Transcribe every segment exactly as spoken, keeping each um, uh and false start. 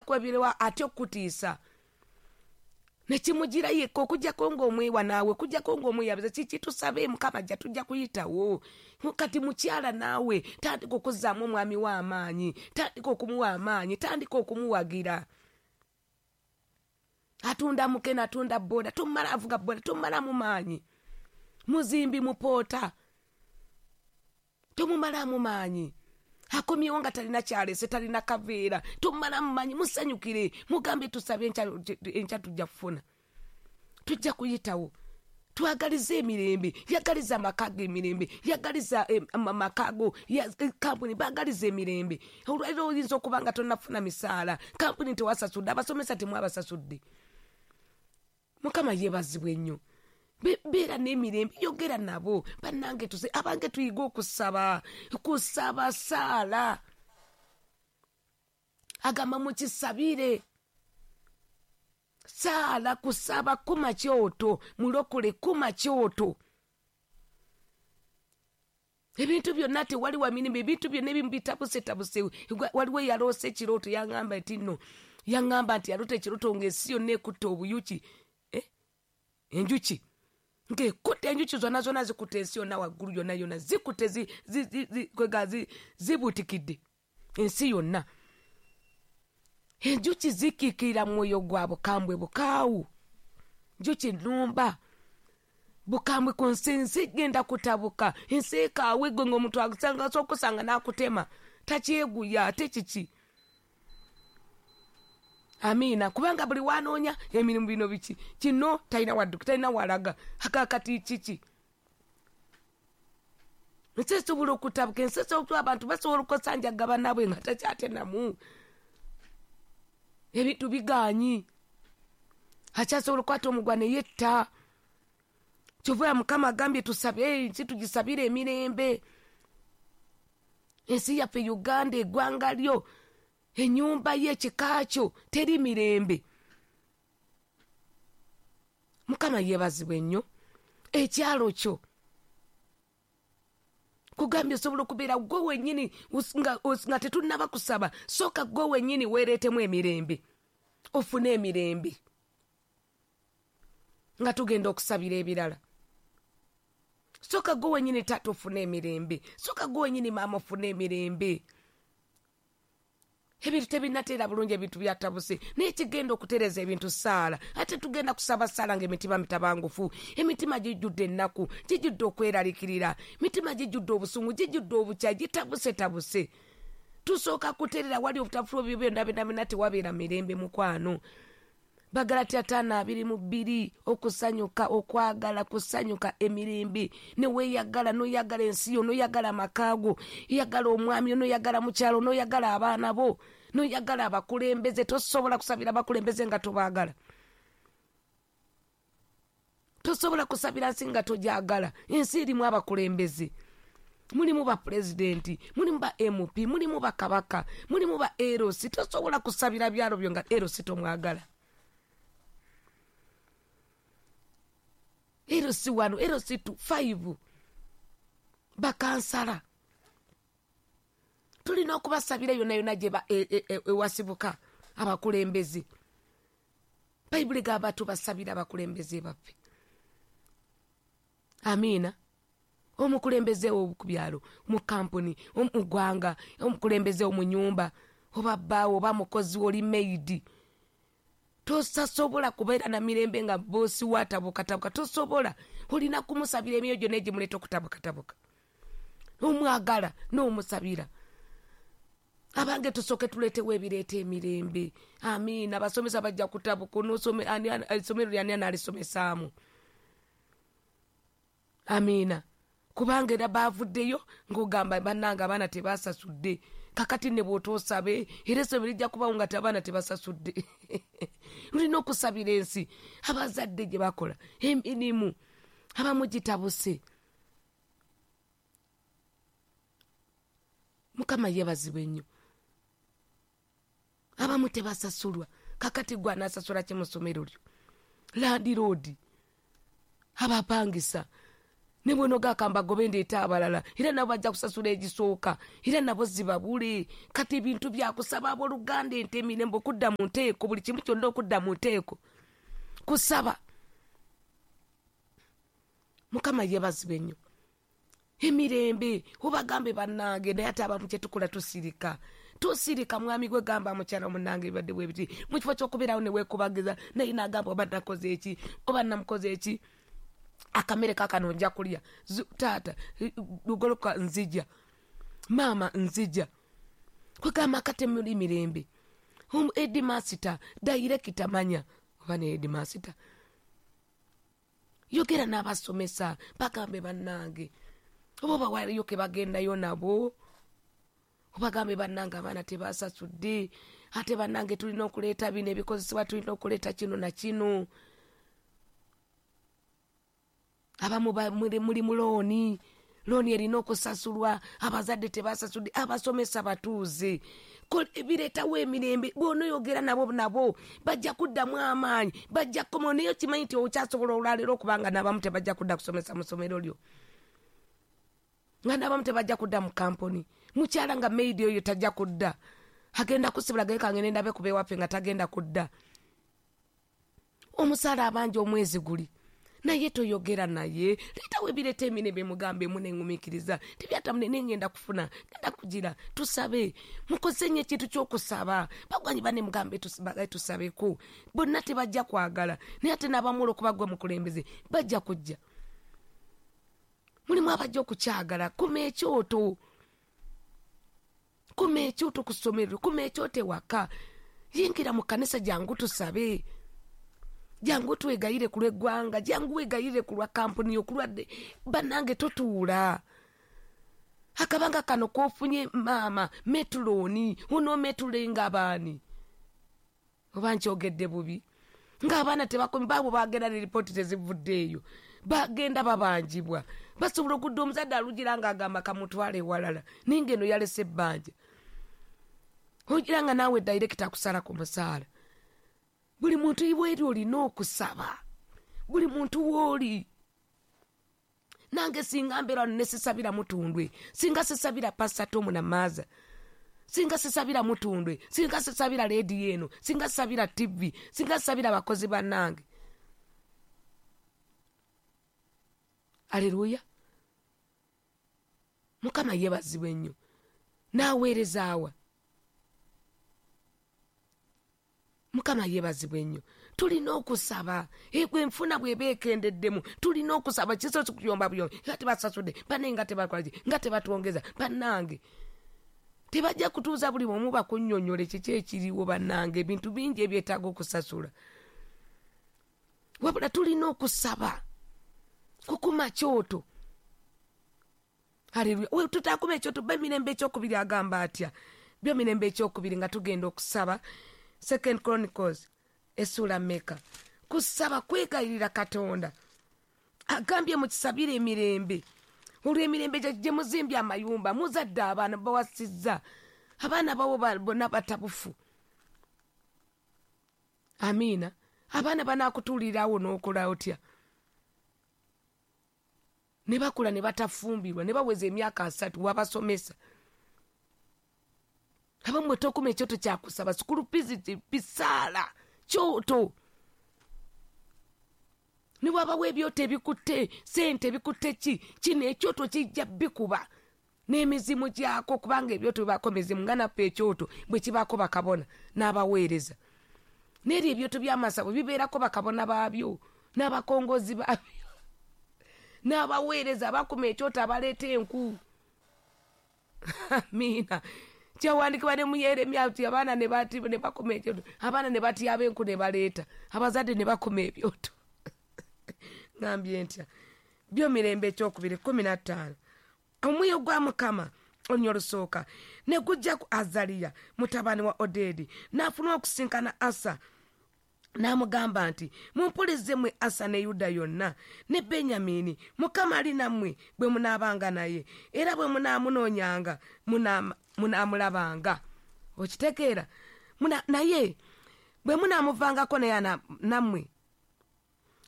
Akwebyerewa atya okutiisa nekimugira yekka okujjako ng'omwewa naawe, okujjako ng'omweyabiza. Kiki tusabe Mukama ajja, tujja kuyitawo. Kati mukyala naawe tandika okuzzaamu omwami w'amaanyi, tandika okumuwa amaanyi, tandika okumuwagira. Atunda mukene, atunda boda, tumala avuga boda, tumalamu maanyi. Muzimbi mupoota, tumumalamu maanyi. Akomyewo nga talina kyalese, talina kaveera, tumalamu maanyi. Musanyukire, mugambe tusabe enkya tujja kufuna, tujja kuyitawo. Twagalize emirembe, yagaliza amaka go emirembe, yagaliza amaka go, kampuni bagaliza emirembe. Olwaliro oyinza okuba nga tonnafuna misaala, kampuni tewasasudde, abasomesa temwabasasudde. Mukama yeebazibwe nnyo. Beera n'emirembe, yogera nabo bannange. Tuse abange tuyiga okusaba, kusaba saala. Agamba mukisabire saala, kusaba kuma kyoto, mulokole kuma kyoto. Ebintu byonna tewali wa mirembe, ebintu byonna ebimu bitabusetabuse. Waliwo eyaloose ekirooto yaŋŋamba nti nno, yaŋŋamba nti yaloota ekirooto ng'ensi yonna ekutte obuyuki, eh? Enjuki ng'ekutte, enjuki zonna zonna zikutte ensi yonna waggulu yonna yonna zikutte, kwega zibuutikidde ensi yonna. Enjuki zikiikirira mwoyo gwa bukambwe bukaawu, njuki nnumba bukambwe ku nsi, ensi egenda kutabuka, ensi ekaawe gwe ng'omuntu asobola okusanga n'akutema, takyeguya ate kiki. Amiina. Kubanga buli wanoonya emirimu bino biki kino talina wadduka, talina walaga akakati kiki. Ensi esobola okutabuka, ensi esobola, abantu basobola okusanjaga bannaabwe nga takyatenamu. Ebintu bigaanyi, akyasobola okukwata omugwa ne yetta. Kyova Mukama agambye tusabe ensi, tugisabire emirembe. Ensi yaffe Uganda, eggwanga lyo, ennyumba ye, ekika kyo, teri mirembe. Mukama yeebazibwe nnyo. Ekyalo kyo kugambye osobola okubeera gwe wennyini nga, nga tetunnaba kusaba, sooka gwe wennyini weereetemu emirembe, ofune emirembe nga tugenda okusabira ebirala. Sooka gwe wennyini taata ofune emirembe, sooka gwe wennyini maama ofune emirembe. Ebintu tebinnateera bulungi, ebintu byatabuse, naye kigenda okutereeza ebintu saala. Ate tugenda kusaba saala ng'emitima mitabangufu, emitima gijjudde ennaku, gijjudde okweraliikirira, emitima gijjudde obusungu, gijjudde obukyayi, gitabusetabuse. Tusooka kuterera wali obutafu ebyo byonna byonna byonna, tewabeera mirembe mukwano. Bagalatiya ttaano abiri mu bbiri, okusanyuka, okwagala kusanyuka emirembe, ne weeyagala, n'oyagala ensi yo, n'oyagala amaka go, oyagala omwami, n'oyagala mukyalo, n'oyagala abaana bo, n'oyagala abakulembeze. Tosobola kusabira abakulembeze nga tobaagala, tosobola kusabira nsi nga togyagala. Ensi erimu abakulembeze, mulimu ba pulezidenti, mulimu ba M P, mulimu bakabaka, mulimu ba L C. Tosobola kusabira byalo byo nga L C tomwagala. L C one, L C two, five bakansala tulina okubasabira yonna yonna gye ewasibuka abakulembeze. Bayibuli egamba tubasabira abakulembeze baffe. Amiina. Omukulembeze wo ku byalo, mu kampuni, mu ggwanga, omukulembeze wo mu nnyumba, oba bbaawo, oba mukozi wo, oli maid. Tosasobola kubeera na mirembe nga boosi wo atabukatabuka, tosobola. Olina kumusabira emyoyo gyonna egimuleeta okutabukatabuka. Omwagala n'omusabira. Abange tusooke tuleetewo ebireeta emirembe. Amiina. Abasomesa bajja kutabuka, essomero lyani anaalisomesaamu? Amiina. Kubanga era baavuddeyo ng'ogamba bannange abaana tebasasudde. Kakati ne bw'otoosabe era essomero lijja kubawo nga abaana tebasasudde. Olina okusabira ensi, abazadde gye bakola emirimu abamu gitabuse. Mukama yeebazibwe nnyo. Abamu tebasasulwa, kakati gwe anaasasula ki mu ssomero lyo? Landiroodi, abapangisa, Ne bw'onoogamba gobe ndeeta abalala, era nabo bajja kusasula egisooka, era nabo zibabule. Kati ebintu byakusaba abooluganda, ente emirembe okudda mu nteeko, buli kimu kyonna okudda mu nteeko, kusaba. Mukama yeebazibwe nnyo. Emirembe obagambe bannange, naye ate abamu kye tukola tusirika. Tusirika. Mwami gwe gamba mukyala munnange ebibadde bwe biti, mu kifo ky'okubeerawo ne weekubagiza, naye n'agamba oba nakoze eki, oba namukoze eki, akamere kaakano nja kulya, taata lugoloka nzija, maama nzija. Kwegamba kate muli mirembe. Headmaster dayirekita manya oba ne headmaster, yogera n'abasomesa bagambe bannange, oba bawaliyo ke bagendayo nabo, obagambe bannange abaana tebasasudde, ate bannange tulina okuleeta bino ebikozesebwa, tulina okuleeta kino na kino. Abamu muli mu looni, looni erina okusasulwa, abazadde tebasasudde, abasomesa batuuze. Bireetawo emirembe. Bw'onooyogera nabo nabo bajja kuddamu amaanyi, bajja kukoma. Naye okimanyi nti okyasobola olwaleero okubanga n'abamu tebajja kudda kusomesa mu ssomero lyo, nga n'abamu tebajja kudda mu kampuni. Mukyala nga maid oyo tajja kudda, agenda kusibula gaye kange nendabe kuba ewaffe nga tagenda kudda. Omusaala abanja omwezi guli, naye toyogera naye, leetawo ebireeta emirembe, mugambe muneŋŋumiikiriza, tebyatamune nengenda kufuna, ngenda kugira. Tusabe, mukoze nnyo ekintu ky'okusaba. Bagwanyi banne mugambe tusabeko, bonna tebajja kwagala, naye ate n'abamu olw'okuba ggwe mukulembeze bajja kujja. Mulimu abajja okukyagala. Kuma ekyoto, kuma ekyoto ku ssomero, kuma ekyoto ewaka, yingira mu kkanisa, jangu tusabe, jangu twegayire ku lw'eggwanga, jangu weegayirire ku lwa kampuni yo, ku lwadde. Bannange totuula. Akabanga kano k'ofunye maama metulooni, onoometulenga baani? Oba nkyogedde bubi? Ng'abaana tebakomi, baabo bagenda ne lipooti tezivuddeeyo, bagenda babanjibwa. Basobola okudda omuzadde alugira ng'agamba kamutwale ewalala, naye ng'eno yalese ebbanja. Ogira nga naawe dayirekita akusala ku musaala. Buli muntu iweeri olina okusaba, buli muntu w'oli. Nange singa mbeera wano ne sisabira Mutundwe, singa sisabira Pastor Tom Namaaza, singa sisabira Mutundwe, singa sisabira leediyo eno, singa sisabira T V, singa sisabira bakozi bannange. Aleluya. Mukama yeebazibwe nnyo. N'aweereza awa. Mukama yeebazibwe nnyo. Tulina okusaba. Enfuna bw'eba ekendeddemu, tulina okusaba. Kisoose kuyomba buyombi, nga tebasasudde, bannange nga tebakola ki, nga tebatwongeza, bannange. Tebajja kutuuza buli omu bakunnyonnyole kiki ekiriwo bannange, ebintu bingi ebyetaaga okusasula. Wabula tulina okusaba, kukuma kyoto. Haleluya. Tutakuma ekyoto. B'emirembe ekyokubiri agamba atya? By'emirembe ekyokubiri nga tugenda okusaba, Second Chronicles essuula mmeka? Kusaba kwegayirira Katonda. Agambye mukisabire emirembe. Olw'emirembe gye muzimbye amayumba, muzadde abaana bawasizza, abaana babo bonna batabufu. Amiina. Abaana banaakutuulirawo n'okola otya? Ne bakula ne batafumbirwa, ne baweza emyaka asatu, wabasomesa. Abamu tokuma ekyoto kyakusaba, sukulu pizi bisaala kyoto. Ne wabawo ebyoto ebikutte sente, ebikutte ki, kino ekyoto kijja bikuba n'emizimu gyako, kubanga ebyoto bibaako mizimu, nga naffe ekyoto bwe kibaako bakabona n'abaweereza. N'eri ebyoto by'amasabo bibeerako bakabona baabyo n'abakongozi baabyo n'abaweereza abakuma ekyoto abaleeta enku. Amiina. Kyawandiikibwa ne mu Yeremiya nti abaana ne bakuma ekyoto, abaana ne batyaba enku ne baleeta, abazadde ne bakuma ebyoto. Ngambye ntya? By'emirembe ekyokubiri kkumi na ttaano. Omwoyo gwa Mukama olunya olusooka ne gujja ku Azaliya mutabani wa Odedi, n'afuna okusinkana Asa, n'amugamba nti, mumpulize mmwe Asa ne Yuda yonna ne Benyamini, Mukama ali nammwe bwe munaabanga naye, era bwe munaamunoonyanga munaamulabanga. Okitegeera? Naye bwe munaamuvangako naye nammwe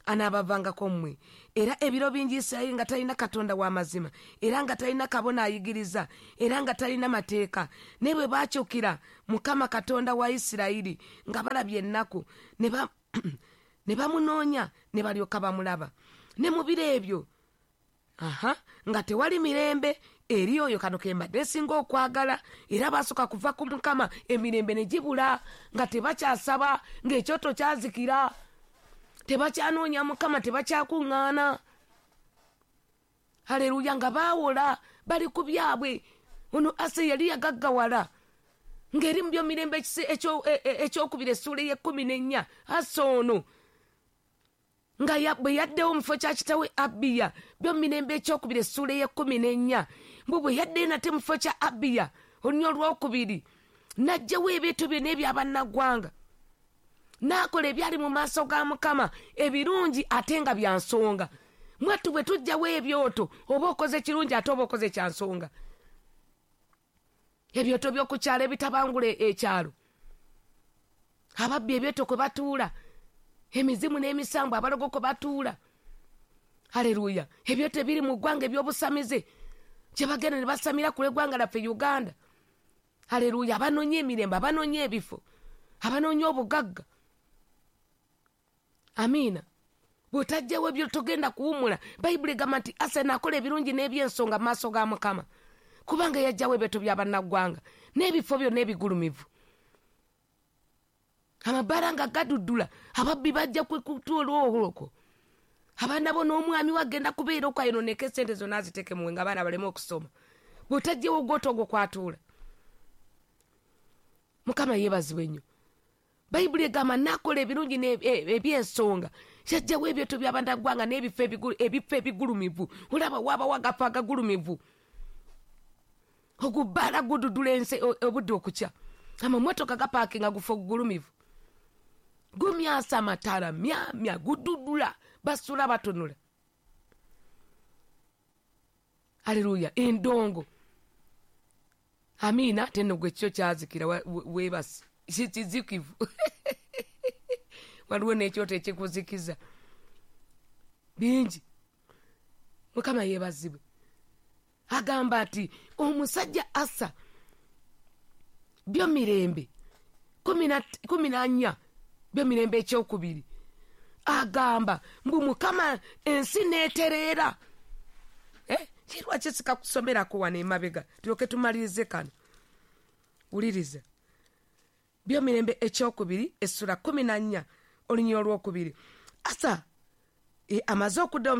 anaabavangako mmwe. Era ebiro bingi Isirayiri nga talina Katonda w'amazima, era nga talina kabona ayigiriza, era nga talina mateeka. Naye bwe baakyukira Mukama Katonda wa Isirayiri nga balabye ennaku, ne bamunoonya ne balyoka bamulaba. Ne mu biro ebyo aha nga tewali mirembe eri oyo kano ke mbadde nsinga okwagala, era baasooka kuva ku Mukama, emirembe ne gibula, nga tebakyasaba, ng'ekyoto kyazikira, tebakyanoonya Mukama, tebakyakuŋŋaana. Haleluya, nga baawola bali ku byabwe. Ono Asa yali yagaggawala, ng'eri mu byomirembe ekyokubiri essuula ey'ekkumi n'ennya. Asa ono nga bwe yaddewo mu kifo kya kitawe Abiya, byomirembe ekyokubiri essuula ey'ekkumi n'ennya, mbu bwe yaddeyo nate mu kifo kya Abiya olunya olwokubiri, n'aggyawo ebintu byonna ebyabannaggwanga, n'akola ebyali mu maaso ga Mukama ebirungi ate nga bya nsonga. Mwattu bwe tuggyawo ebyoto, oba okoze kirungi ate oba okoze kya nsonga. Ebyoto by'oku kyalo ebitabangula ekyalo, ababbi ebyoto kwe batuula, emizimu n'emisambu abalogo kwe batuula. Haleluya, ebyoto ebiri mu ggwanga eby'obusamize kye bagenda ne basamira ku lw'eggwanga laffe Uganda. Haleluya, abanoonya emirembe, abanoonya ebifo, abanoonya obugagga. Amiina. Bw'otaggyawo ebyo togenda kuwummula. Bayibuli egamba nti Asa n'akola ebirungi n'eby'ensonga mu maaso ga Mukama, kubanga yaggyawo ebyoto by'abannaggwanga n'ebifo byonna ebigulumivu. Amabaala nga gaduddula, ababbi bajja kutuula olwokwo. Abaana bo n'omwami we agenda kubeera okwo ayonooneke essente zonna aziteeke muwe nga abaana baleme okusoma. Bw'otaggyewo ogwoto ogwo kwatuula. Mukama yeebazibwe nnyo. Bayibuli egamba n'akola ebirungi eby'ensonga, yaggyawo ebyoto by'abannaggwanga n'ebifo ebifo ebigulumivu. Olaba waabawo agafo agagulumivu, ogubbaala gududdula ensi obudde okukya, amamotoka gapaakinga gufo gugulumivu, gumyasa amataala myamya, gududdula, basula batunula. Haleluya, endongo. Amiina, teno gwe kyo kyazikira weebase kizikivu. Waliwo n'ekyoto ekikuzikiza bingi. Mukama yeebazibwe. Agamba nti omusajja Asa byomirembe kumi na nnya, byomirembe ekyokubiri, agamba mbu Mukama ensi n'etereera. Eh, lwaki sikakusomerako wano emabega tulyoke tumalirize kano? Wuliriza byomirembe ekyokubiri essula kumi na nnya olunyiriri olwokubiri. Asa e, amaze okudda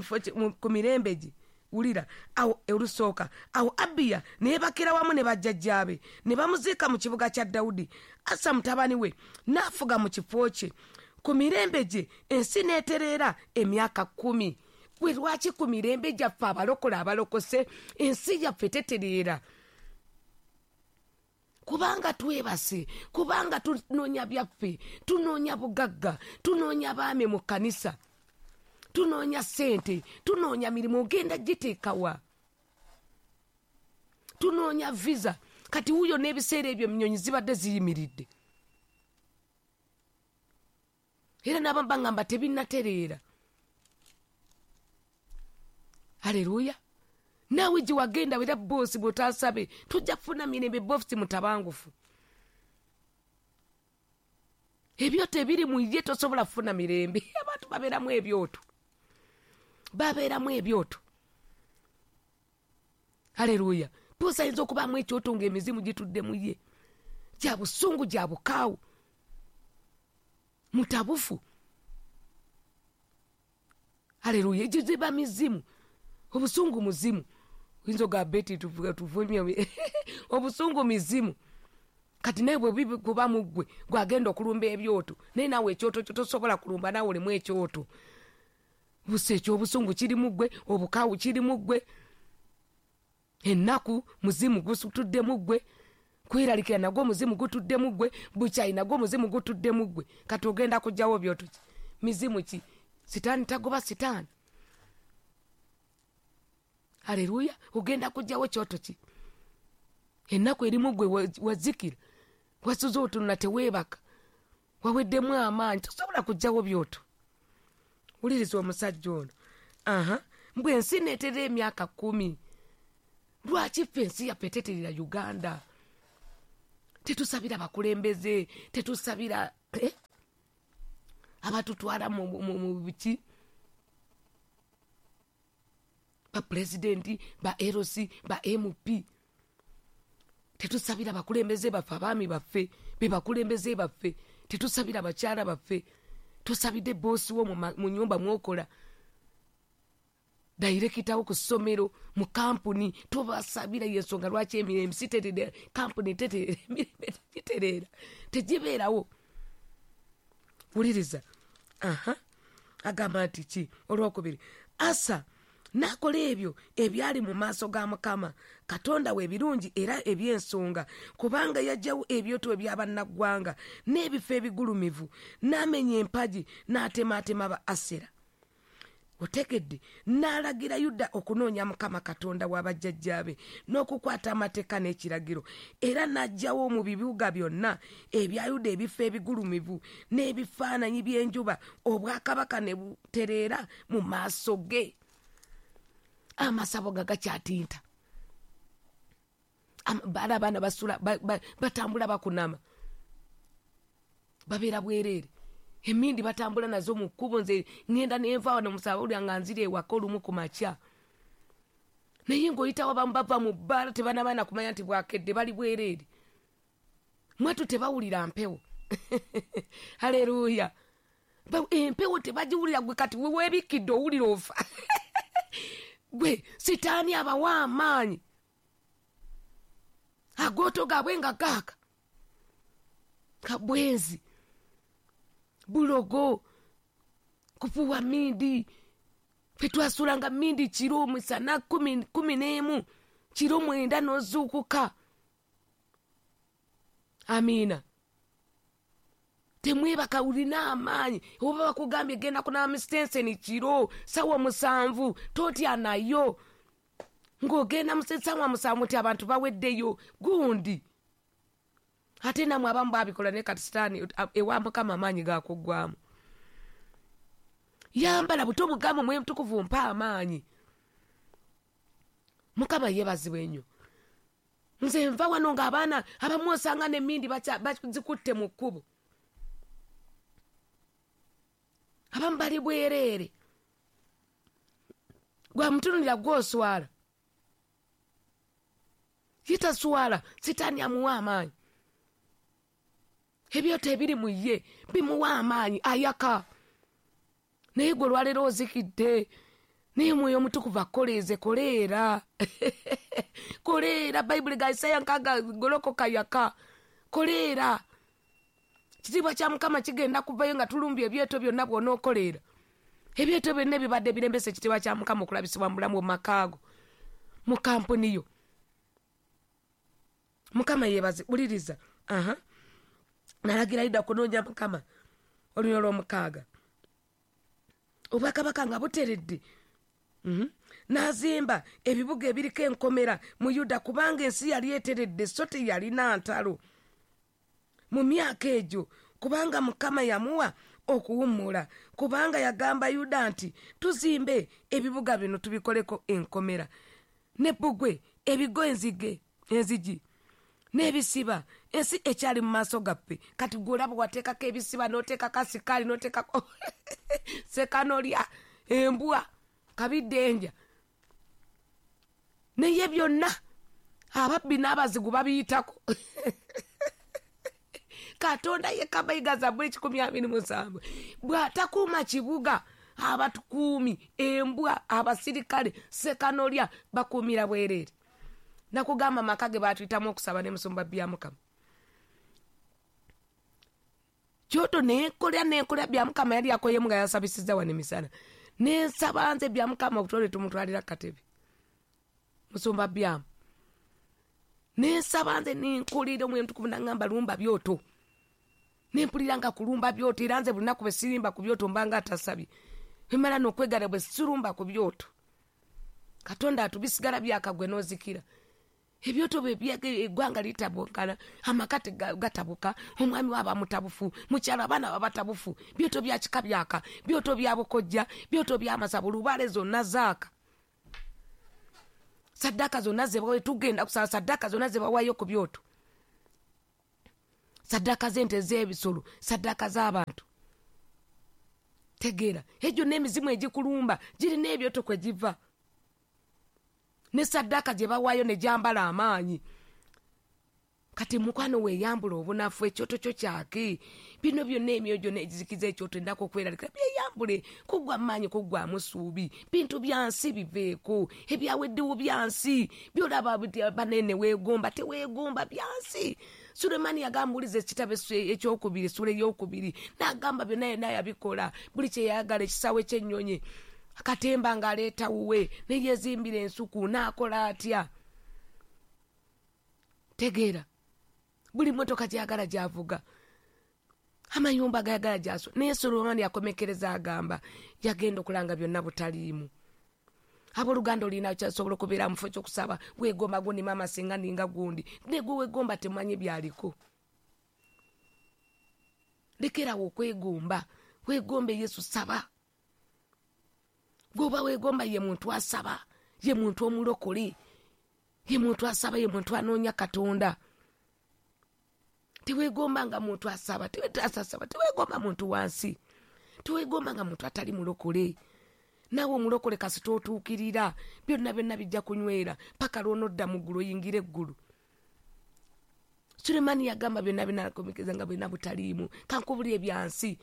ku mirembe gye, wulira awo olusooka, awo Abiya ne yeebakira wamu ne bajjajjaabe ne bamuziika mu kibuga kya Dawudi. Asa mutabani we n'afuga mu kifo kye. Ku mirembe gye ensi n'etereera emyaka kkumi. Gwe lwaki ku mirembe gyaffe abalokole abalokose ensi yaffe tetereera? Kubanga twebase, kubanga tunoonya byaffe, tunoonya bugagga, tunoonya baami mu kkanisa, tunoonya ssente, tunoonya mirimu, ogenda giteekawa, tunoonya visa. Kati wuuyo n'ebiseera ebyo ennyonyi zibadde ziyimiridde, era n'abamu baŋŋamba tebinnatereera. Haleluya. Naawe gye wagenda era boosi bw'otaasabe tojja kufuna mirembe, boosi mutabangufu. Ebyoto ebiri mu ye tosobola kufuna mirembe. Abantu babeeramu ebyoto, babeeramu ebyoto. Haleluya. Boosi ayinza okubaamu ekyoto ng'emizimu gitudde mu ye, gya busungu, gya bukaawu, mutabufu. Haleluya. Egyo ziba mizimu. Obusungu muzimu. Oyinza ogamba Beti tuvumye obusungu mizimu. Kati naye bwe buba mu ggwe gwagenda okulumba ebyoto, naye naawe ekyoto kyo tosobola kulumba, naawe olimu ekyoto. Busa ekyobusungu kiri mu ggwe, obukaawu kiri mu ggwe, ennaku muzimu gutudde mu ggwe, kweralikira nagwo muzimu gutudde mu ggwe, bukyayi nagwo muzimu gutudde mu ggwe. Kati ogenda kuggyawo byoto ki? Mizimu ki? Sitaani tagoba sitaani. Haleluya. Ogenda kuggyawo kyoto ki? Ennaku erimu ggwe wazikira, wasuze otunula teweebaka, waweddemu amaanyi, tosobola kuggyawo byoto. Wuliriza omusajja ono. Aha, mbwe ensi neeterera emyaka kkumi. Lwaki ffe ensi yaffe teterera Uganda? Tetusabira bakulembeze, tetusabira eh? abatutwala mu, mu, mu biki, ba pulezidenti, ba L C, ba M P. Tetusabira bakulembeze baffe, abaami baffe be bakulembeze baffe. Tetusabira bakyala baffe. Tusabidde boosi wo mu nyumba mwokola, dayirekitawo ku ssomero, mu kampuni, tobasabira. Yensonga lwaki emirembe si teterera, kampuni teterera, emirembe tegitereera, tegibeerawo. Wuliriza. Aha, agamba nti ki olwokubiri, Asa n'akola ebyo ebyali mu maaso ga Mukama Katonda we ebirungi era eby'ensonga, kubanga yaggyawo ebyoto ebyabannaggwanga n'ebifo ebigulumivu, n'amenya empagi, n'atemaatema ba Asera. Otegedde? N'alagira Yuda okunoonya Mukama Katonda w'abajjajjaabe n'okukwata amateeka n'ekiragiro, era n'aggyawo mu bibuga byonna ebya Yuda ebifo ebigulumivu n'ebifaananyi by'enjuba, obwakabaka ne butereera mu maaso ge. Amasabo ga gakyatinta, bala abaana basula batambula bakunama, babeera bwereere. Emindi batambula nazo mu kkubo. Nze ŋŋenda nenva wano musaba nga nzira ewaka olumu ku makya, naye ng'oyitawo abamu bava mu bbaala tebanabaana kumanya nti bwakedde, bali bwereere. Mwatu tebawulira mpewo. Haleluya! Empewo tebagiwulira. Gwe kati weweebikkidde owulira ofa. Gwe sitaani abawa amaanyi, agooto gaabwe nga gaaka, kabwenzi, bulogo, kufuwa mindi. Ffe twasulanga mindi kiro misana kumi, kumi n'emu, kiro mwenda n'ozuukuka. Amiina. Temwebaka, olina amaanyi. Oba bakugambye genda kunaaba misitenseni kiro sawa musanvu, totya nayo ng'ogenda mu sawa musanvu nti abantu baweddeyo gundi. Ate namwe abamu babikola, naye kati sitaani ewa Mukama amaanyi gakuggwamu. Yambala buto obugambo, Mwoyo Mutukuvu mpa amaanyi. Mukama yeebazibwe nnyo. Nze nva wano ng'abaana abamu osanga n'emmindi bazikutte mu kkubo, abamu bali bwereere. Gwamutunulira gw'oswala, ye taswala. Sitaani amuwa amaanyi, ebyoto ebiri mu ye bimuwa amaanyi, ayaka. Naye gwe olwaleero ozikidde, naye Mwoyo Omutukuvu akoleeze. Koleera, koleera. Bayibuli ga Isaya nkaaga, golokoka, yaka, koleera. Kitiibwa kya Mukama kigenda kuvayo nga tulumbye ebyoto byonna. Bw'onookoleera, ebyoto byonna ebibadde birembesa ekitiibwa kya Mukama okulabisibwa mu bulamu, mu makaago, mu kampuni yo. Mukama yeebaze. Wuliriza. Aha, nalagira Yuda kunoonya Mukama. Olunyo olw'omukaaga, obwakabaka nga buteredde. Mm-hmm. N'azimba ebibuga ebiriko enkomera mu Yuda, kubanga ensi yali eteredde, so teyalina ntalo mu myaka egyo, kubanga Mukama yamuwa okuwummula. Kubanga yagamba Yuda nti, tuzimbe ebibuga bino tubikoleko enkomera ne bbugwe, ebigo, enzige, enzigi n'ebisiba, ensi ekyali mu maaso gaffe. Kati gwe olaba wateekako ebisiba, n'oteekako asikaali, n'oteekako sekanolya, embwa, kabiddenja, naye byonna ababbi n'abazigu babiyitako. Katonda yekka Mayiga Zabbuli kikumi abiri musanvu, bw'atakuuma kibuga, abatukuumi, embwa, abasirikale, sekanolya bakuumira bwereere. Nakugamba amaka ge batuyitamu okusaba ne musumba Byamukama. Kyoto nenkolera nenkolera Byamukama yali akoyemu nga yasabisizza wano emisana. Nensaba nze Byamukama okutwale tumutwalira katebe. Musumba Byamu. Nensaba nze nenkolera Omwoyo Omutukuvu n'aŋŋamba lumba byoto. Nempulira nga kulumba byoto, era nze buli lunaku bwe sirimba ku byoto mbanga atasabye. Bwe n'okwegala bwe sirumba ku byoto. Katonda atubisigala byakagwe n'ozikira. Ebyoto eggwanga litabukana, amaka gatabuka, omwami waba mutabufu, mukyala abaana baba batabufu, byoto bya kika byaka, byoto bya bukojja, byoto by'amasabo, lubaale zonna zaaka. Saddaaka zonna ze bawa, tugenda kusaba saddaaka zonna ze bawaayo ku byoto, saddaaka z'ente z'ebisolo, saddaaka z'abantu. Tegeera, egyo n'emizimu egikulumba girina ebyoto kwe giva, ne saddaaka gye bawaayo ne gyambala amaanyi. Kati mukwano weeyambula obunafu, ekyoto kyo kyake. Bino byonna emyoyo gyonna egizikiza ekyoto ennaku okweralikira, byeyambule. Kuggwa maanyi, kuggwamu ssuubi, bintu bya nsi biveeko, ebyaweddewo bya nsi byolaba banene weegomba, teweegomba bya nsi. Sulemaani yagamba, uliza ekitabo ekyokubiri, essula eyokubiri, n'agamba byonna yonna yabikola, buli kye yayagala, ekisaawe ky'ennyonyi, akatemba ng'aleeta wuwe, ne yeezimbira ensuku, n'akola atya. Tegeera, buli mmotoka gy'ayagala gy'avuga, amayumba gayagala gy'aso. Naye Sulemaani yakomekereza agamba yagenda okulanga byonna butaliimu. Abooluganda olina kyasobola okubeera mu kifo ky'okusaba, weegomba gundi maama singa ninga gundi, ne gwe weegomba temumanyi by'aliko. Lekerawo okwegomba, weegombe Yesu, saba. Gwoba weegomba ye muntu asaba, ye muntu omulokole, ye muntu asaba, ye muntu anoonya Katonda. Teweegomba nga muntu asaba, tewetasasaba, teweegomba muntu wansi, teweegomba nga muntu atali mulokole. Naawe omulokole kasita otuukirira, byonna byonna bijja kunywera paka lw'onodda mu ggulu oyingire eggulu. Sulemaani yagamba byonna byonna akomekeza nga byonna butaliimu. Kankubulire ebyansi,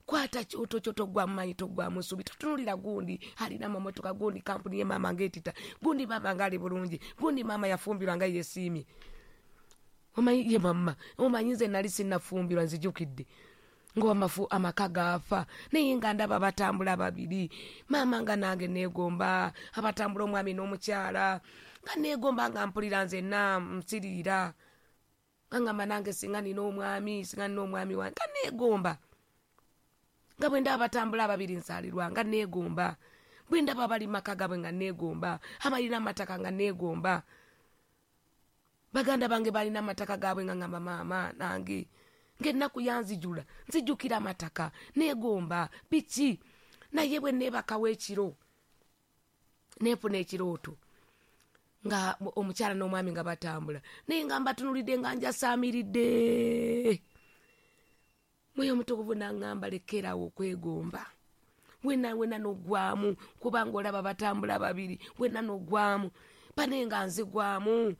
kwata kyoto kyo, toggwamu maanyi, toggwamu nsuubi, totunuulira gundi alina amamotoka, gundi kampuni ye maama ng'etita, gundi maama ng'ali bulungi, gundi maama yafumbirwa nga yeesiimye. Omanyi ye mama, omanyi nze nali sinnafumbirwa, nzijukidde ng'amafu amaka gaafa, naye nga ndaba batambula babiri, maama nga nange neegomba abatambula omwami n'omukyala, nga neegomba nga mpulira nzenna nsiriira, nga ngamba nange singa nina omwami, singa nina omwami wange, nga neegomba. Nga bwe ndaba batambula ababiri nsaalirwa, nga neegomba. Bwe ndaba abali mu maka gaabwe nga neegomba, abalina amataka nga neegomba. Baganda bange balina amataka gaabwe nga ngamba maama nange ng'ennaku yanzijula, nzijukira amataka, neegomba biki. Naye bwe neebakawo ekiro, neefuna ekirooto nga omukyala n'omwami nga batambula, naye nga mbatunulidde nga njasaamiridde. Mwoyo Omutukuvu n'aŋŋamba lekerawo okwegomba, wena wena n'oggwamu, kubanga olaba batambula babiri, wena n'oggwamu, bane nga nzigwamu,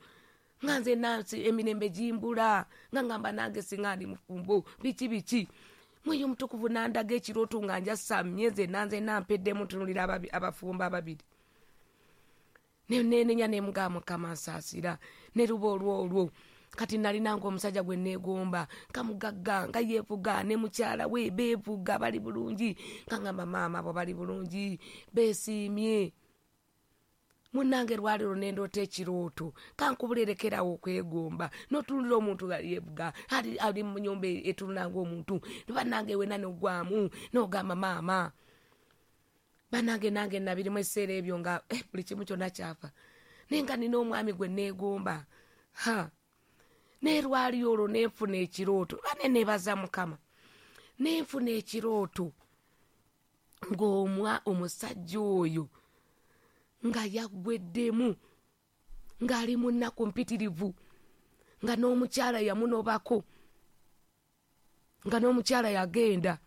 nga nze nansi emirembe gimbula, nga ngamba nange singa ndi mufumbo, biki biki. Mwoyo Omutukuvu n'andaga ekirooto nga njasamye nze nze nampeddemu ntunulira abafumbo ababiri. Nenenya ne mugamba Mukama nsaasira, ne luba olwo olwo. Kati nalinanga omusajja gwe neegomba, nga mugagga, nga yeevuga, ne mukyala we beevuga, bali bulungi, nga ngamba maama abo bali bulungi, beesiimye. Munnange lwali lwo nendoota ekirooto, kankubulerekerawo okwegomba, n'otunulira omuntu nga yeevuga, ali, ali mu nnyumba etunula ng'omuntu, bannange wena n'oggwamu, n'ogamba maama. Bannange nange nabirimu ebiseera ebyo nga eh, buli kimu kyonna kyafa, naye nga nina omwami gwe neegomba. Ha, naye lwali olwo nenfuna ekirooto, bane neebaza Mukama, nenfuna ekirooto ng'omwa omusajja oyo nga yaggweddemu, ng'ali mu nnaku mpitirivu, nga n'omukyala yamunobako, nga n'omukyala yagenda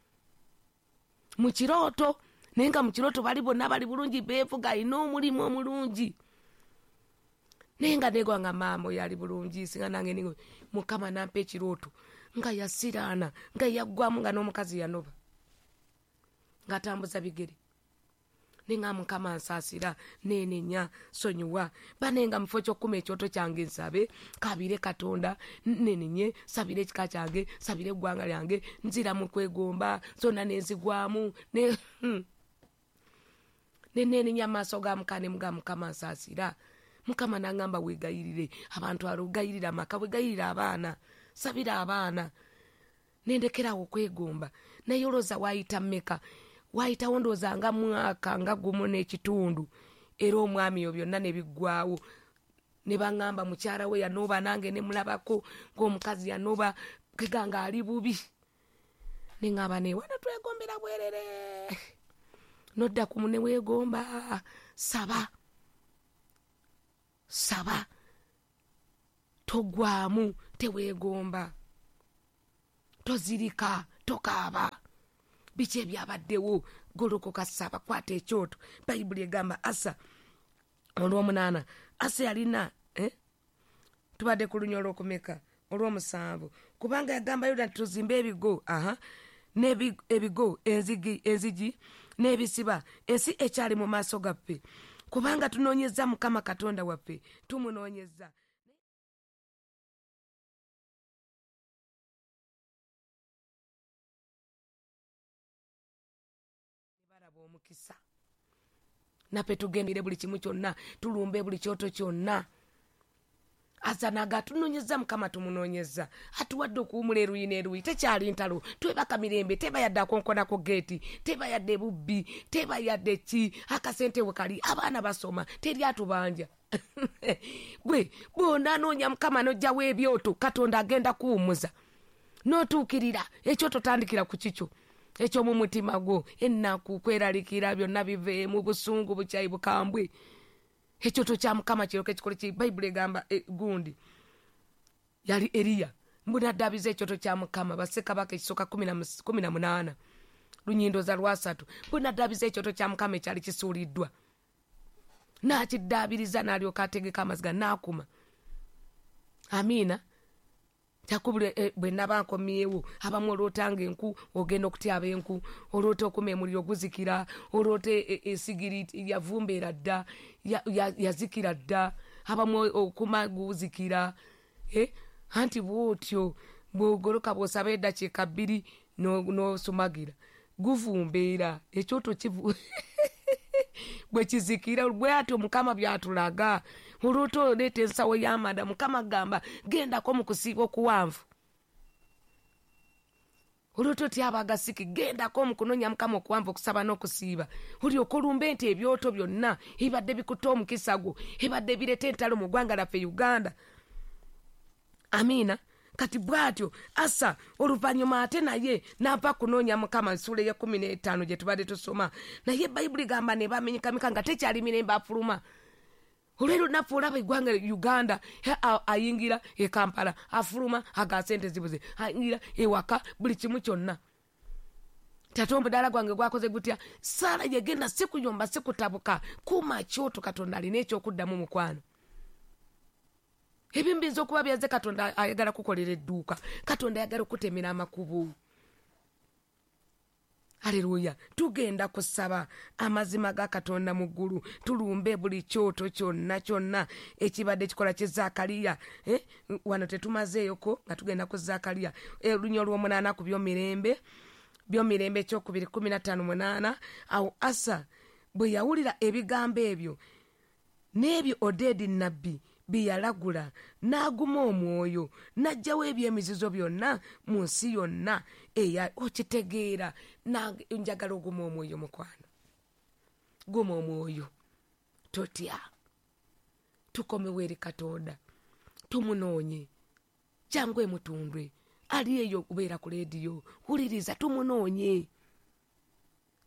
mu kirooto, naye nga mu kirooto bali bonna bali bulungi, beevuga, alina omulimu omulungi, naye nga neegwa nga maama oyo ali bulungi, singa nange ningo. Mukama n'ampa ekirooto nga yasiraana, nga yaggwamu, nga n'omukazi yanoba, ng'atambuza bigere. Naye nga Mukama nsaasira, neenenya, sonyiwa. Bane nga mu kifo ky'okukuma ekyoto kyange nsabe, kabire Katonda, nenenye, sabire ekika kyange, sabire eggwanga lyange, nzira mu kwegomba, zonna nenzigwamu, ne nenenya amaaso ga Mukama, ne mugamba Mukama nsaasira. Mukama n'aŋŋamba weegayirire abantu, alugayirire amaka, weegayirire abaana, sabira abaana. Nendekerawo okwegomba. Naye olowooza waayita mmeka? Waayitawo ndowooza nga mwaka nga gumu n'ekitundu, era omwami oyo byonna ne biggwawo. Ne baŋŋamba mukyala we yanoba, nange ne mulabako ng'omukazi yanoba, keganga ali bubi. Ne ŋŋamba ne wano twegombera bwerere. Nodda ku munne weegomba, saba. Saba. Togwamu, teweegomba. Tozirika, tokaaba. Biki ebyabaddewo, golokoka saba, kwata ekyoto. Bayibuli egamba Asa olw'omunaana, Asa yalina eh? Tubadde ku lunya olw'okumeka olw'omusanvu, kubanga yagamba Yuda nti tuzimbe ebigo, aha, n'ebigo enzigi, enzigi n'ebisiba, ensi ekyali mu maaso gaffe, kubanga tunoonyezza Mukama Katonda waffe, tumunoonyezza. Balaba omukisa. Naffe tugendere buli kimu kyonna, tulumbe buli kyoto kyonna. Asa naga tunoonyezza Mukama, tumunoonyezza, atuwadde okuwumula eruyi n'eruyi, tekyali ntalo, twebaka mirembe, teba yadde akonkonako geeti, teba yadde bubbi, teba yadde ki, akasente we kali, abaana basoma, teri atubanja. Gwe bw'onaanoonya Mukama n'oggyawo ebyoto, Katonda agenda kuwummuza n'otuukirira. Ekyoto tandikira ku kikyo eky'omu mutima gwo, ennaku, kweralikira, byonna biveemu, busungu, bukyayi, bukambwe. Ekyoto kya Mukama kiryoke kikole ki? Bayibuli egamba e, gundi yali Eriya mbu n'addaabiza ekyoto kya Mukama, bassekabaka ekisooka kumi na munaana lunyindoza lwasatu, mbu n'addaabiza ekyoto kya Mukama ekyali kisuuliddwa, n'akiddaabiriza, n'alyoka ategeka amaziga n'akuma. Amiina. Kyakubule eh, bwe naba nkomyewo, abamu olootanga enku, ogenda okutyaba enku, oloota okuma emuliro guzikira, oloota esigiri yavumbeera dda, yazikira dda, abamu okuma guzikira. Eh? Anti bw'otyo bw'ogoloka bw'osaba eddakiika bbiri n'osumagira, guvumbeera, ekyoto kivu bwe kizikira. Bw'atyo Mukama by'atulaga. Oloota oleeta ensawo y'amanda, Mukama agamba gendako mu kusiiba okuwanvu. Oloota otyaba agasiki, gendako mu kunoonya Mukama okuwanvu, okusaba n'okusiiba, olyoke olumbe nti ebyoto byonna ebibadde bikutte omukisa gwo, ebibadde bireeta entalo mu ggwanga lyaffe Uganda. Amiina. Kati bw'atyo Asa oluvannyuma ate naye n'ava kunoonya Mukama, nsuula ey'ekkumi n'etaano gye tubadde tusoma, naye Bayibuli gamba ne bamenyekameka nga tekyali mirembe afuluma. Olw'ero naffe olaba eggwanga Uganda, ayingira e Kampala, afuluma aga sente zibuze, ayingira ewaka, buli kimu kyonna. Tate omudaala gwange gwakoze gutya? Saala yegenda, si kuyomba, si kutabuka, kuuma kyoto. Katonda alina ekyokuddamu mukwano. Ebimu biyinza okuba byaze, Katonda ayagala kukolera edduuka, Katonda ayagala okutemera amakubo. Aleluya. Tugenda kusaba amazima ga Katonda mu ggulu, tulumbe buli kyoto kyonna kyonna ekibadde kikola ki Zaakaliya. Eh? Wano tetumazeeyoko nga tugenda ku Zaakaliya olunya olw'omunaana ku by'omirembe, by'omirembe ekyokubiri kumi na ttaano munaana. Awo Asa bwe yawulira ebigambo ebyo n'ebyo Odedi nnabbi bye yalagula, n'aguma omwoyo, n'aggyawo eby'emizizo byonna mu nsi yonna eya. Okitegeera, njagala oguma omwoyo mukwano, guma omwoyo, totya, tukomewo eri Katonda, tumunoonye, jangu emutundwe, ali eyo okubeera ku leediyo, wuliriza, tumunoonye.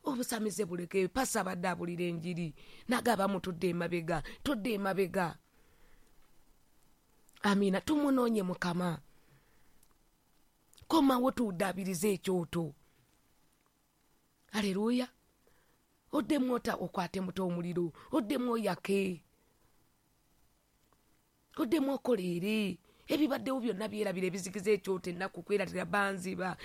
Obusamize buleke, pasa abadde abulira enjiri, nagaba mutudde emabega, tudde emabega. Amiina. Tumunoonye Mukama, komawo tuddaabirize ekyoto. Aleluya. Oddemu ota okwate muto omuliro, oddemu oyake, oddemu okoleere. Ebibaddewo byonna byerabira, ebizikiza ekyoto, ennaku kweratira, banziba,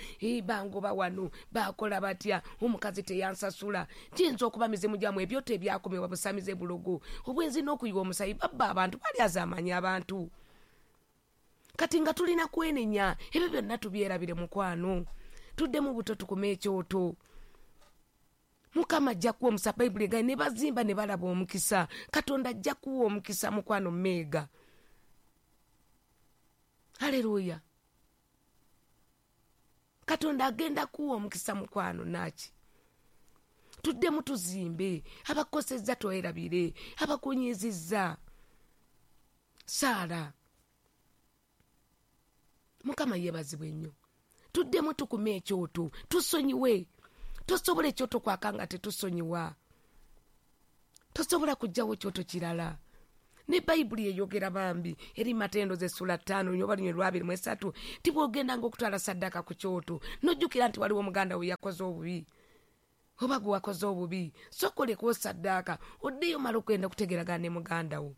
bangoba wano, bakola batya, omukazi teyansasula. Kiyinza okuba mizimu gyammwe, ebyoto ebyakomebwa busamize bulogo, obwenzi n'okuyiwa omusayi, babba abantu, balyazaamanya abantu. Kati nga tulina kwenenya, ebyo byonna tubyerabire mukwano, tuddemu buto tukume ekyoto. Mukama ajja kuwa omukisa. Bayibuli egambye ne bazimba ne balaba omukisa. Katonda ajja kuwa omukisa mukwano mmeega. Aleluya. Katonda agenda kuwa omukisa mukwano naki. Tuddemu tuzimbe, abakosezza twerabire, abakunyizizza. Saala. Mukama yeebazibwe nnyo. Tuddemu tukume ekyoto, tusonyiwe. Tosobola ekyoto kwaka nga tetusonyiwa. Tosobola kuggyawo kyoto kirala. Ne Bayibuli eyogera bambi eri Matendo z'essula ttaano oba lunywe lwa abiri mu esatu nti bw'ogendanga okutwala ssaddaaka ku kyoto n'ojjukira nti waliwo muganda we yakoze obubi oba gwe wakoze obubi, sooka olekawo ssaddaaka oddeyo omale okugenda okutegeeragana ne muganda wo.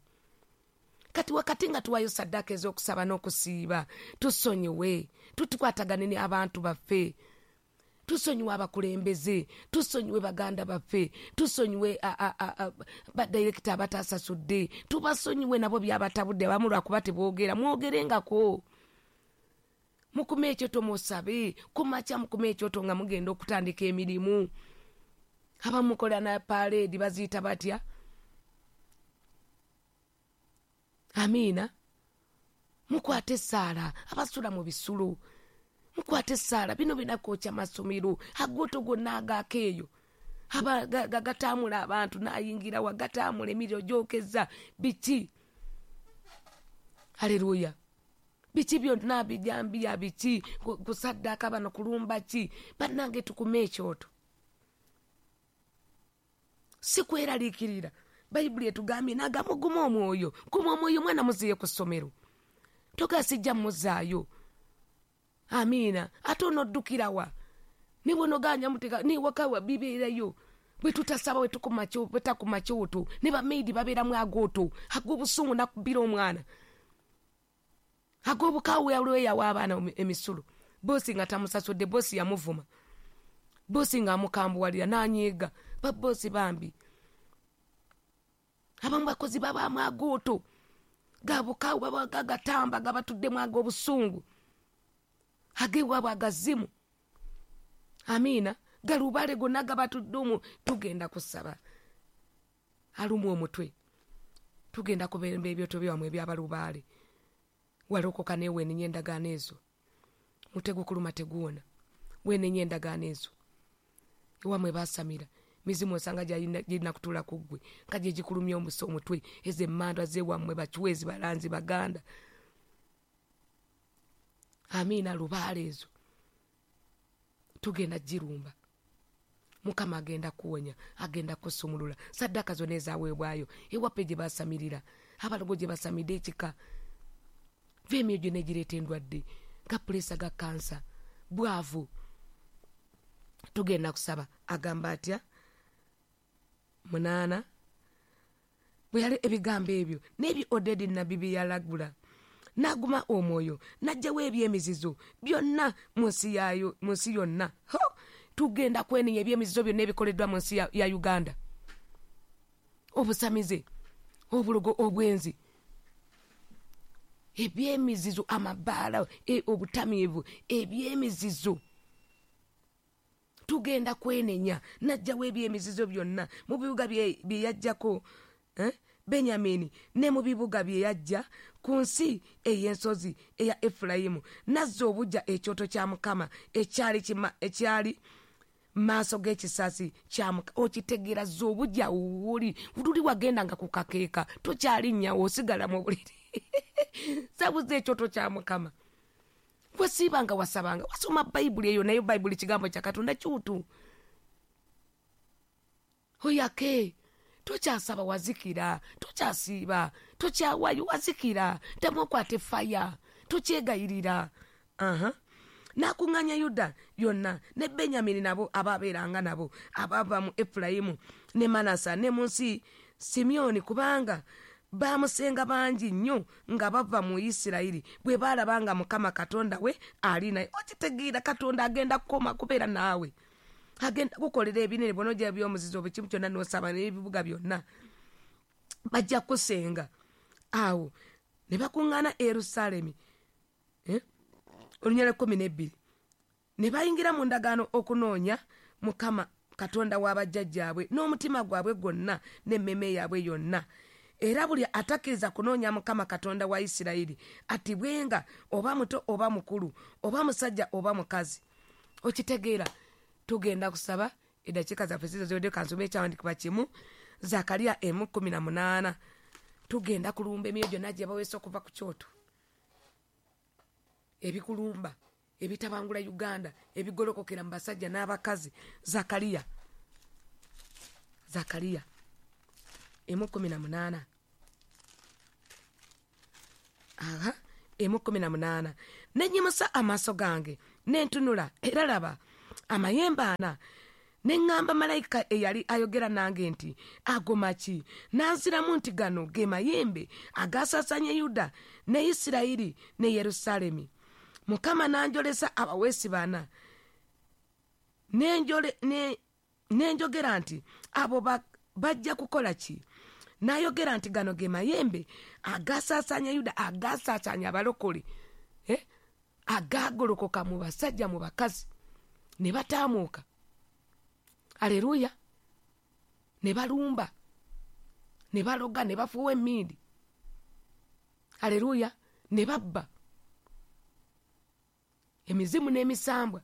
Kati wakati nga tuwaayo ssaddaaka ez'okusaba n'okusiiba, tusonyiwe, tutukwatagane ne abantu baffe, tusonyiwe abakulembeze, tusonyiwe baganda baffe, tusonyiwe badirekita abatasasudde, tubasonyiwe nabo byabatabudde abamu lwakuba teboogera, mwogerengako. Mukume ekyoto musabe, kumakya mukume ekyoto nga mugenda okutandika emirimu. Abamu mukola na paleedi baziyita batya? Amiina. Mukwate essaala, abasula mu bisulo mukwate essaala, bino binakwokya masomero agoto gonna agaako eyo gagatamula abantu n'ayingira wagatamula emiriro gyokeza biki. Haleluya. Biki byonna bijambiya biki kusaddaaka bano kulumba ki? Bannange tukume ekyoto, si kweraliikirira. Bayibuli etugambye n'agamba guma omwoyo, guma omwoyo, mwana muziye ku ssomero, togasijja muzaayo. Amiina. Ate onoddukirawa ne bw'onogaanya muteeka newakawa bibeerayo. Bwe tutasaba bwe tukuma kyoto ne bamaidi babeeramu agooto ag'obusungu nakubira omwana ag'obukaawu yalweyawa abaana emisulo. Boosi nga tamusasudde, boosi yamuvuma, boosi nga amukambuwalira n'anyiiga. Baboosi bambi abamu bakozi babaamu agooto gabukaawu babagatamba gabatuddemu ag'obusungu agewaabwe agazimu. Amiina. Galubale gonna gabatuddemu. Tugenda kusaba alumu omutwe, tugenda kubeera ebyoto byamwe ebyabalubaale. Walokoka newenenya endagaano ezo, mutego kuluma teguwona, wenenya endagaano ezo. Ewamwe basamira mizimu osanga gyalina kutuula ku ggwe nga gye gikulumya omusa omutwe. Ezo emmandwa zewammwe bakiwezi balanzi baganda. Amiina. Lubaale ezo tugenda girumba. Mukama agenda kuwonya, agenda kusumulula. Saddaaka zonna ezaweebwayo ewaffe gye basamirira, abalogo gye basamidde ekika, va emyoyo gyonna egireeta endwadde ga puleesa ga kansa bwavu. Tugenda kusaba. Agamba atya? Munaana bwe yali ebigambo ebyo n'ebyo Odedi nnabbi bye yalagula, n'aguma omwoyo n'aggyawo ebyemizizo byonna mu nsi yaayo, mu nsi yonna. Ho! Tugenda kwenenya ebyemizizo byonna ebikoleddwa mu nsi ya, ya Uganda. Obusamize, obulogo, obwenzi, ebyemizizo, amabaala, e, obutamiivu, ebyemizizo. Tugenda kwenenya n'aggyawo ebyemizizo byonna mu bibuga bye yaggyako eh? Benyamini ne mu bibuga bye yajja ku nsi ey'ensozi eya Efulayimu, n'azza obuggya ekyoto kya Mukama ekyali ekyali maaso g'ekisasi kya Mukama. Okitegeera, zza obuggya wuli luli wagendanga ku kakeeka tokyalinnya, osigala mu buliri. Sabuza ekyoto kya Mukama. Wasiibanga, wasabanga, wasoma Bayibuli eyo, nayo Bayibuli kigambo kya Katonda kyutu. Oyake tokyasaba wazikira, tokyasiiba, tokyawayo wazikira, ddamu okwata faya, tokyegayirira. Aha. N'akuŋŋaanya Yuda yonna ne Benyamini nabo ababeeranga nabo abava mu Efulayimu ne Manasa ne mu nsi Simyoni, kubanga bamusenga bangi nnyo nga bava mu Isirayiri bwe baalaba nga Mukama Katonda we ali naye. Okitegeera, Katonda agenda kukoma kubeera naawe, agenda kukolera ebinene bw'onoggya ebyomuzizo buli kimu kyonna n'osaba n'ebibuga byonna bajja kusenga. Awo ne bakuŋŋaana e Yerusaalemi eh? Olunyala kkumi n'ebbiri ne bayingira mu ndagaano okunoonya Mukama Katonda w'abajjajjaabwe n'omutima gwabwe gwonna n'emmeeme yaabwe yonna. Era buli atakkiriza kunoonya Mukama Katonda wa Isirayiri attibwenga, oba muto oba mukulu, oba musajja oba mukazi. Okitegeera, tugenda kusaba. Eddakiika zaffe zizo ziwedde, kansome ekyawandiikibwa kimu, Zakariya emu kkumi na munaana. Tugenda kulumba emyoyo gyonna gye baweesa okuva ku kyoto, ebikulumba ebitabangula Uganda, ebigolokokera mu basajja n'abakazi. Zakariya, Zakariya emu kumi na munaana, aha, emu kumi na munaana. Nenyimusa amaaso gange nentunula, era laba amayembe ana. Neŋŋamba malayika eyali ayogera nange nti, ago maki? Nanziramu nti, gano ge mayembe agasaasaanya Yuda ne Isirayiri ne Yerusaalemi. Mukama n'anjolesa abaweesi bana. Nenjogera nti, abo bajja kukola ki? N'ayogera nti, gano ge mayembe agasaasaanya Yuda, agasaasaanya abalokole, eh? agagolokoka mu basajja mu bakazi ne bataamuuka. Aleluya. Ne balumba, ne baloga, ne bafuuwa emmindi. Aleluya. Ne babba emizimu n'emisambwa.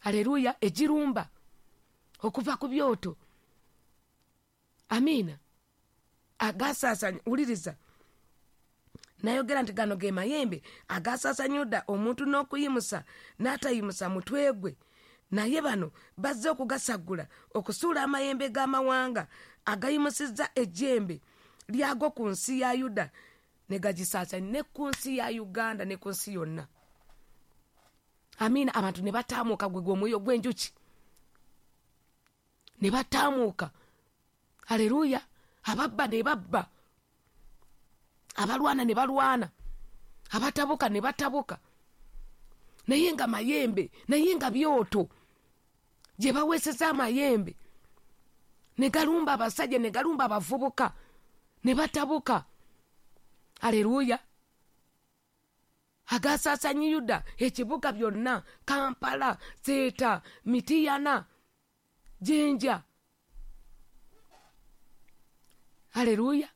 Aleluya. Egirumba okuva ku byoto. Amiina. Agasaasanya, wuliriza. Nayogera nti, gano ge mayembe agasaasanya Yuda, omuntu n'okuyimusa n'atayimusa mutwe gwe. Naye bano bazze okugasaggula, okusuula amayembe g'amawanga agayimusizza ejjembe lyago ku nsi ya Yuda ne gagisaasanya ne ku nsi ya Uganda ne ku nsi yonna. Amiina. Abantu ne bataamuuka, gwe gw'omwoyo gw'enjuki, ne bataamuuka. Aleluya. Ababba ne babba, abalwana ne balwana, abatabuka ne batabuka. Naye nga mayembe, naye nga byoto gye baweeseza amayembe ne galumba abasajja, ne galumba abavubuka, ne batabuka. Aleluya. Agasaasanya Yuda, ekibuga byonna, Kampala, Seeta, Mitiyana, Jinja. Aleluya.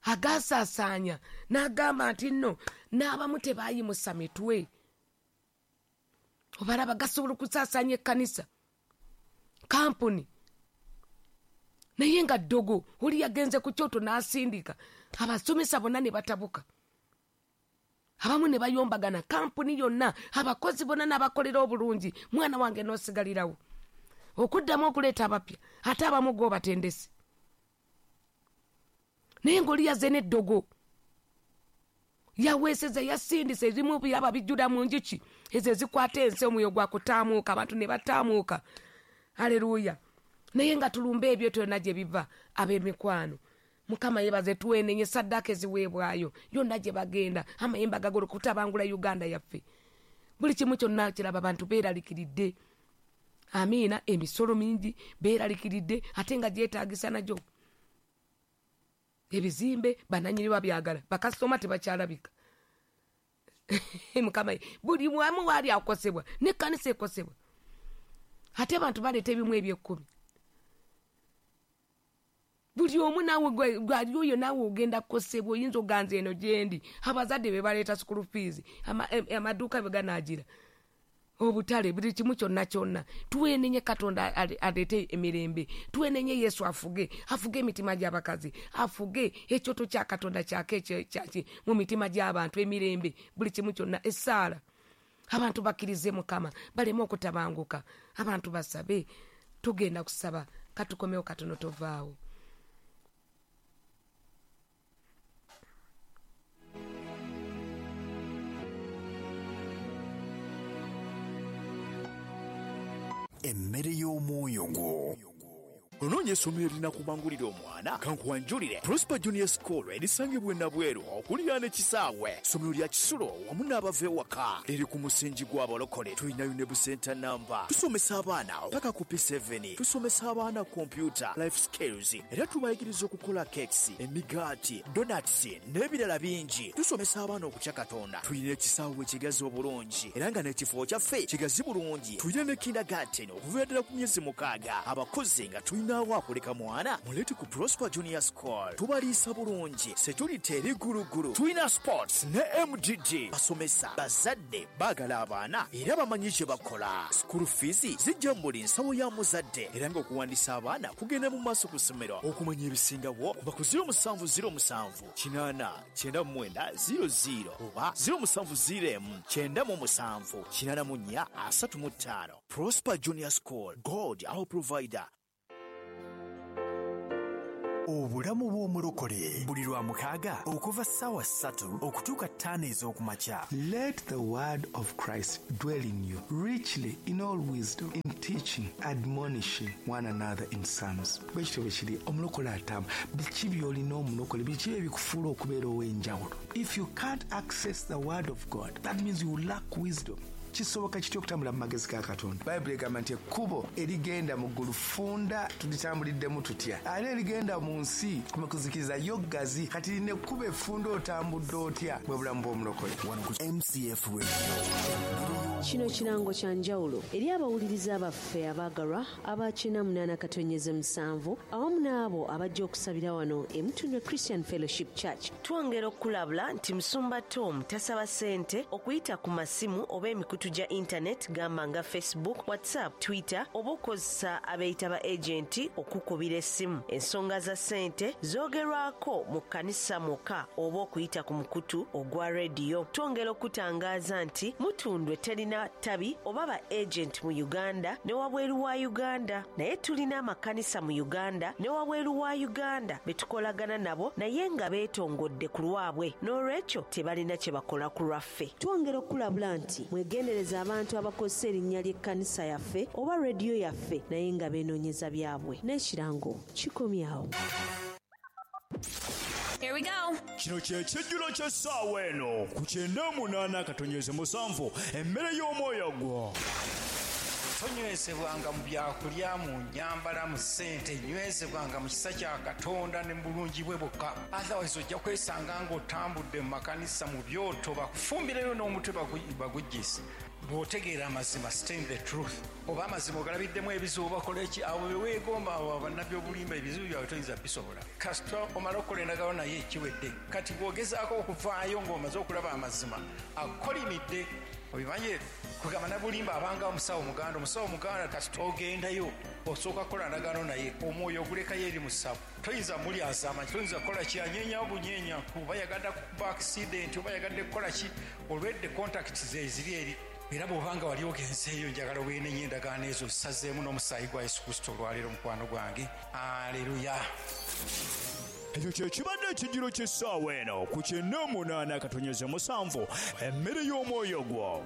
Agasaasanya n'agamba nti nno n'abamu tebayimusa mitwe. Obalaba gasobola okusaasanya ekkanisa, kampuni, naye nga ddogo oli yagenze ku kyoto n'asindika abasomesa bonna ne batabuka, abamu ne bayombagana, kampuni yonna, abakozi bonna n'abakolera obulungi, mwana wange n'osigalirawo okuddamu okuleeta abapya, ate abamu g'obatendese. Naye ng'oli yazze n'eddogo, yaweeseza, yasindise ebimu byaba bijjula mu njuki ezo ezikwata ensi, omwoyo gwa kutaamuuka, abantu ne bataamuuka. Aleluya. Naye nga tulumba ebyo byonna gye biva, ab'emikwano. Mukama yeebaze, twenenye saddaaka eziweebwayo yonna gye bagenda, amayembe agagolo kutabangula Uganda yaffe. Buli kimu kyonna kiraba abantu beeraliikiridde. Amiina. Emisolo mingi beeraliikiridde, ate nga gyetaagisa nagyo. Ebizimbe bannannyini babyagala, bakasitoma tebakyalabika. Mukama, buli wamu waali akosebwa, n'ekkanisa ekosebwa, ate abantu baleeta ebimu eby'ekkumi. Buli omu naawe gwali oyo naawe ogenda kukosebwa, oyinza oganza eno gyendi. Abazadde be baleeta school fees, amaduuka bwe ganaagira, obutale, buli kimu kyonna kyonna. Twenenye Katonda aleete emirembe, twenenye Yesu afuge, afuge emitima gy'abakazi, afuge ekyoto kya Katonda kyake kyaki mu mitima gy'abantu, emirembe, buli kimu kyonna. Essaala, abantu bakkirize Mukama, baleme okutabanguka, abantu basabe. Tugenda kusaba, katukomewo katono, tovaawo. Emmere y'omwoyo gwo. Onoonya essomero erinakubangulira omwana? Kankuwanjulire Prosper Junior School erisangibwa e Nabweru okuliraana ekisaawe. Ssomero lya kisulo wamu n'abava ewaka, liri ku musingi gw'abalokole. Tulinayo ne busenta namba. Tusomesa abaana paka ku P seven, tusomesa abaana kompyuta, life skills, era tubayigiriza okukola cakes, emigaati, donuts n'ebirala bingi. Tusomesa abaana okutya Katonda. Tulina ekisaawe ekigazi obulungi era nga n'ekifo kyaffe kigazi bulungi. Tulina ne kindergarten okuviira ddala ku myezi mukaaga. Abakozi nga tulina Munaawo akuleka mwana, muleete ku Prosper Junior School. Tubaliisa bulungi, security eri gulugulu, tulina sports ne M D G. Basomesa, bazadde baagala abaana era bamanyi kye bakola. School fees zijja mu buli nsawo ya muzadde, era ng'okuwandiisa abaana kugenda mu maaso ku ssomero. Okumanya ebisingawo kuba ku zero musanvu zero musanvu kinaana kyenda mu mwenda zero zero oba zero musanvu zero emu kyenda mu musanvu kinaana mu nnya asatu mu ttaano. Prosper Junior School, God our provider. Obulamu bw'omulokole buli lwa mukaaga okuva ssaawa ssatu okutuuka ttaano ez'okumakya. Let the word of Christ dwell in you richly in all wisdom, in teaching, admonishing one another in psalms. Bwe kityo bwe kiri, omulokole atamba. Biki by'olina omulokole, biki ebikufuula okubeera ow'enjawulo? If you can't access the word of God, that means you lack wisdom. Kisoboka kitya okutambula mu magezi ga Katonda? Bayibuli egamba nti ekkubo erigenda mu ggulu ffunda, tulitambuliddemu tutya? Ate erigenda mu nsi mu kuzikiriza yo ggazi. Kati lino ekkubo effunda otambudde otya? Bwe bulamu bw'omulokole. Wano ku M C F Radio. Kino kirango kya njawulo eri abawuliriza baffe abaagalwa aba kina munaana katonyeze musanvu awamu n'abo abajja okusabira wano e Mutundwe Christian Fellowship Church. Twongera okulabula nti Musumba Tom tasaba ssente okuyita ku masimu oba emikutu gya internet gamba nga Facebook, WhatsApp, Twitter oba okozesa abeeyita ba agenti okukubira essimu. Ensonga za ssente zoogerwako mu kkanisa mwokka oba okuyita ku mukutu ogwa rediyo. Twongera okutangaaza nti Mutundwe terina tabi oba ba agent mu Uganda ne wabweru wa Uganda, naye tulina amakanisa mu Uganda ne wabweru wa Uganda betukolagana nabo naye nga beetongodde ku lwabwe, n'olwekyo tebalina kye bakola ku lwaffe. Twongera okulabula nti mwegendereza abantu abakozesa erinnya ly'ekkanisa yaffe oba rediyo yaffe naye nga beenoonyeza byabwe. N'ekirango kikomyawo. Here we go. Kino kye kijjulo ky'essaawa eno ku kyenda munaana katonyeze musanvu, emmere y'omwoyo gwo. Tonywezebwanga mu byakulya, mu nnyambala, mu ssente, nywezebwanga mu kisa kya Katonda ne mu bulungi bwe bwokka. Otherwise ojja kwesanga ng'otambudde mu makanisa mu byoto, bakufumbireyo n'omutwe baguggyise. Bw'otegeera amazima, stand the truth. Oba amazima ogalabiddemu ebizibu bakola ki? Abo be weegomba, abo bannabbi obulimba, ebizibu byabwe toyinza bisobola. Kasita omala okukola endagaano naye ekiwedde. Kati bw'ogezaako okuvaayo ng'omaze okulaba amazima, akolimidde. Obimanye kugamba nabulimba abanga omusawo muganda, omusawo muganda kasita ogendayo osooka kukola ndagaano naye, omwoyo ogulekayo eri musawo. Toyinza muli azama, toyinza kukola ki, anyeenya obunyeenya, oba yagadde kukuba accident, oba yagadde kukola ki, olwedde contact ze eziri eri. Era bw'obanga wali ogenzeeyo, njagala weenenye endagaano ezo zisazeemu n'omusaayi gwa Yesu Kristo olwaleero, mukwano gwange. Aleluya. Ekyo kye kibadde ekijjulo ky'essaawa eno ku kyenda munaana katonyeze musanvu, emmere y'omwoyo gwo.